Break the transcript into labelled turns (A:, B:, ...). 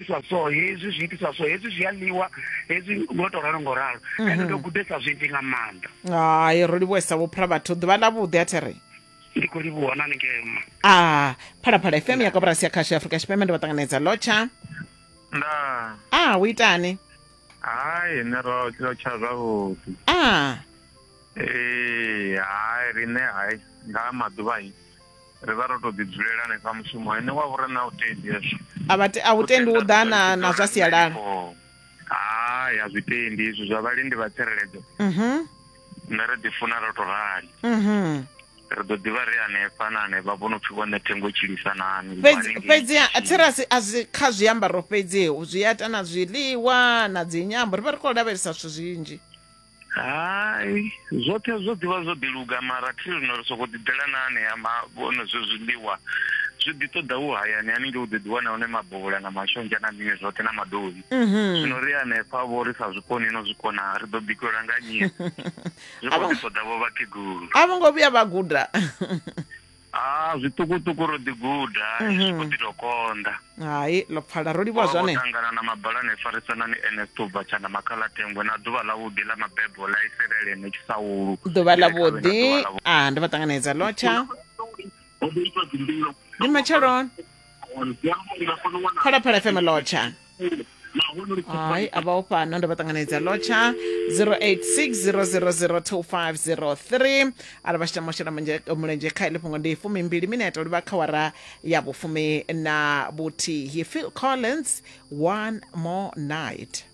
A: Itiswa so hezwi zwi itiswa so hezwi zwi a ḽiwa hezwi ngo to ralo ngo ralo ende ndo gudesa zwinzhi nga maanḓa.
B: Hai, ro livhuwesa vho Vhathu. Ḓuvha ḽa vhuḓi a thi ri.
A: Ndi khou livhuwa na haningei mma.
B: A Phalaphala FM ya koporasi ya khasho ya Afrika Tshipembe ndo vha ṱanganedza lotsha.
C: Ndaa.
B: A hu itani?
C: Hai, nṋe ro lotsha zwavhuḓi.
B: A
C: Ee, hai riṋe hai nga maḓuvha i ri vha ro to ḓi dzulela hanefha mushumo ene wa vhorena u tendi hezwo.
B: A vha a u tendi u ḓa na na zwa sialala.
C: Hai, a zwi tendi hezwi zwa vhalindi vha tsireledzo.
B: Mhm.
C: Nṋe ri ḓi funa ro to rali.
B: Mhm.
C: Ri ḓo ḓivha ri hanefha na hanefha vho no pfi vho ṋethengo tshilisa nani.
B: Fhedzi fhedzi a therasi a zwi kha zwiambaro fhedzi zwi a ita na zwiḽiwa na dzinyambo ri vha ri khou lavhelesa zwithu zwinzhi.
C: Hai, zwoṱhe zwo ḓivha zwo ḓi luga mara thi zwino ri sokou ḓi ḓela na anea vhone zwe zwiḽiwa zwi ḓi ṱoḓa u hayani haningei u ḓo ḓi wana hone mabovhola na mashonzha na mini zwoṱhe na madovhi. Zwino ri hanefha vho ri sa zwi koni no zwi kona ri ḓo bikelwa nga nnyi? Zwi khou ḓi ṱoḓa vho vhakegulu.
B: A vho ngo vhuya vha guda.
C: Ah, zwiṱukuṱuku ro ḓi guda, zwi khou ḓi tou konḓa.
B: Hai, ḽo pfala ro livhuwa zwone.
C: Vho ṱangana na mabalane farisanani Ernest u bva Tshanda Makhalatengwe na ḓuvha ḽavhuḓi ḽa mabebo ḽa Isiraele ne Tshisaulu.
B: Ḓuvha ḽavhuḓi. Ah, ndo vha ṱanganedza lotsha. Ndi matsheloni. Phalaphala FM lotsha. Hai, a vha o fhano ndo vha ṱanganedza lotsha 0860002503 arali vha tshi tama u shela mulenzhe kha iḽi fhungo ndi fumimbili minete u livha kha wara ya vhufumi na vhuthihi. Phil Collins, One More Night.